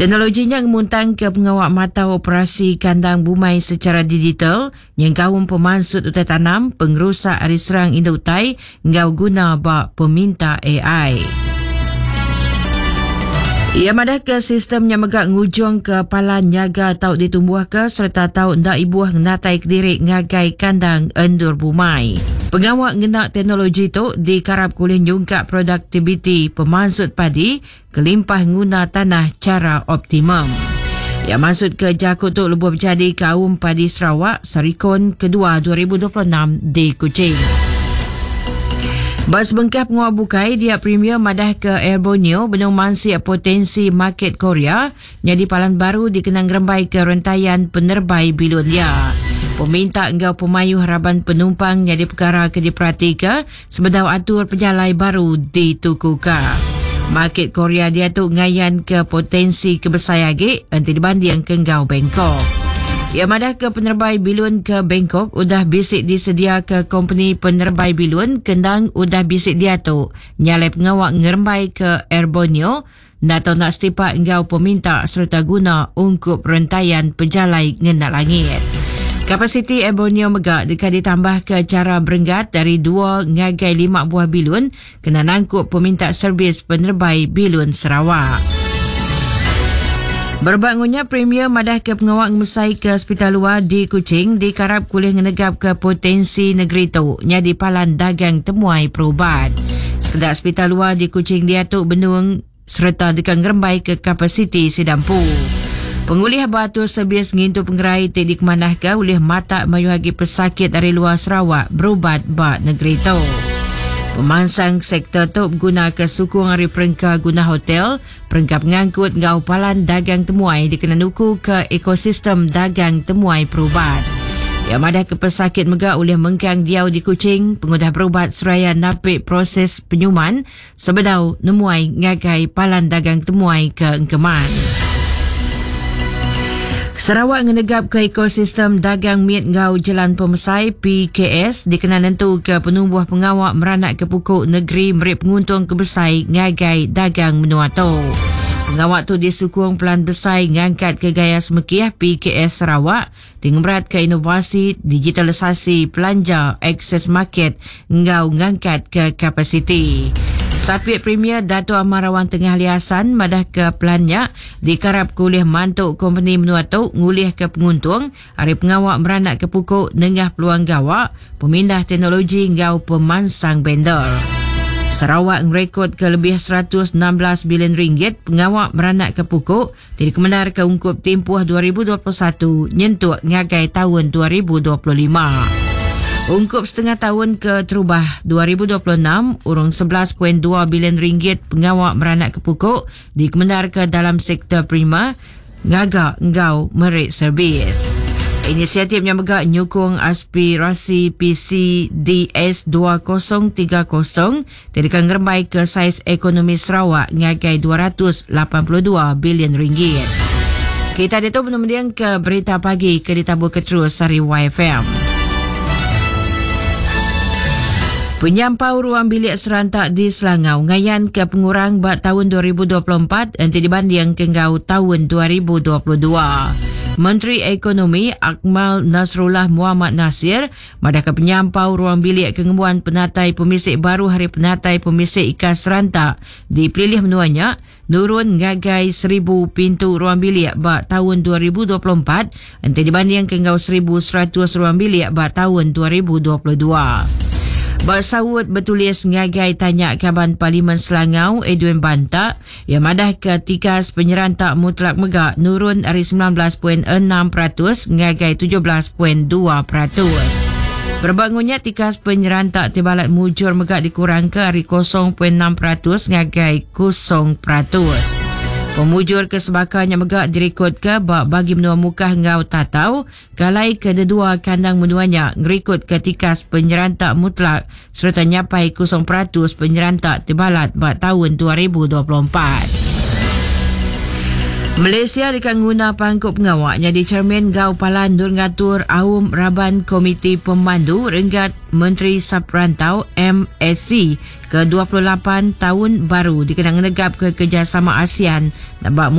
Teknologi nya ngemuntangka pengawa matau operasi kandang bumai sechara digital nyengkaum pemansut utai tanam, pengerusak ari serang indu utai enggau guna ba peminta ai. Iya madahka sistem nya mega ngujungka palan nyaga tau ditumbuhka sereta tau enda ibuh ngenatai kediri ngagai kandang endur bumai. Pengawa ngena teknologi tu dikarapka ulih nyungkak produktiviti pemansut padi kelimpah nguna tanah chara optimum. Iya mansutka jaku tu lebuh bejadi Kaum Padi Sarawak Sarikon Kedua 2026 di Kuching. Ba sebengkah pengawa bukai, dia Premier madahka Air Borneo benung mansik potensi market Korea nyadi palan baru dikena ngerembaika rentayan penerbai bilun iya. Peminta enggau pemayuh raban penumpang nyadi pekara ke diperatika sebedau atur pejalai baru ditukuka. Market Korea diatu ngayanka potensi ke besai agi enti dibandingka enggau Bangkok. Iya madahka penerebai bilun ke Bangkok udah bisi disediaka kompeni penerebai bilun ke endang udah bisi diatu nyalai pengawa ngerembaika Air Borneo enda tau enda setipak enggau peminta sereta guna ungkup rentayan pejalai ngena langit. Kapasiti Air Borneo mega deka ditambahka chara berenggat ari dua ngagai lima buah bilun kena nangkup peminta servis penerebai bilun Sarawak. Berebak enggau nya, Premier madahka pengawa ngemesaika sepital luar di Kuching dikarapka ulih ngenegapka potensi negeri tu nyadi palan dagang temuai perubat. Sekeda sepital luar di Kuching diatu benung sereta deka ngerembaika kapasiti sida empu. Pengulih ba atur servis ngintu pengerai ti dikemanahka ulih matak mayuh agi pesakit ari luar Sarawak berubat ba negeri tu. Pemansang sektor tu begunaka sukung ari perengka guna hotel, perengka pengangkut enggau palan dagang temuai dikena nukuka ekosistem dagang temuai perubat. Iya madahka pesakit mega ulih mengkang diau di Kuching pengudah berubat seraya napi proses penyuman sebedau nemuai ngagai palan dagang temuai ke engkeman. Sarawak ngenegapka ekosistem dagang mit enggau jelan pemesai PKS dikena nentuka penumbuh pengawa meranakka puku negeri meri penguntung ke besai ngagai dagang menua tu. Pengawa tu disukung Pelan Besai Ngangkatka Gaya Semekih PKS Sarawak ti ngemeratka inovasi, digitalisasi, pelanja, akses market enggau ngangkatka kapasiti. Sapit Premier Datuk Amar Awang Tengah Ali Hasan madahka pelan nya dikarapka ulih mantu kompeni menua tu ngulihka penguntung ari pengawa meranakka puku nengah peluang gawa, pemindah teknologi enggau pemansang vendor. Sarawak ngerekodka lebih 116 bilion ringgit pengawa meranakka puku ti dikemendarka ungkup timpuh 2021 nyentuk ngagai taun 2025. Ungkup setengah taun keterubah 2026, urung 11.2 bilion ringgit pengawa meranakka puku dikemendarka dalam sektor primer, ngaga enggau meri servis. Inisiatif nya mega nyukung aspirasi PCDS 2030 ti deka ngerembaika saiz ekonomi Sarawak ngagai 282 bilion ringgit. Kita ditu benung mendingka berita pagi ke ditaburka terus ari YFM. Penyampau ruang bilik seranta di Selangau ngayanka pengurang ba taun 2024 enti dibandingka enggau taun 2022. Menteri Ekonomi Akmal Nasrullah Muhammad Nasir Madahka penyampau ruang bilik ke ngembuan penatai pemisi baru hari penatai pemisi ikas seranta di pelilih menua nya nurun ngagai 1,000 pintu ruang bilik ba taun 2024 enti dibandingka enggau 1,100 ruang bilik ba taun 2022. Ba saut betulis ngagai tanya Kaban Parlimen Selangau Edwin Banta, Iya madahka tikas penyeranta mutlak mega nurun ari 19.6% ngagai 17.2%. Berebak enggau nya, tikas penyeranta ti balat mujur mega dikurangka ari 0.6% ngagai 0%. Pemujur ke sebaka nya mega dirikodka ba Bagi Menua Mukah enggau Tatau, ke alai kededua kandang menua nya ngerikodka tikas penyeranta mutlak sereta nyapai 0% penyeranta ti balat ba taun 2024. Malaysia deka nguna pangku pengawa nyadi chairman enggau palan endur ngatur aum raban Komiti Pemandu Renggat Menteri Sub-Rantau, MSC, ke 28 taun baru dikena ngenegapka kerejasama ASEAN ba.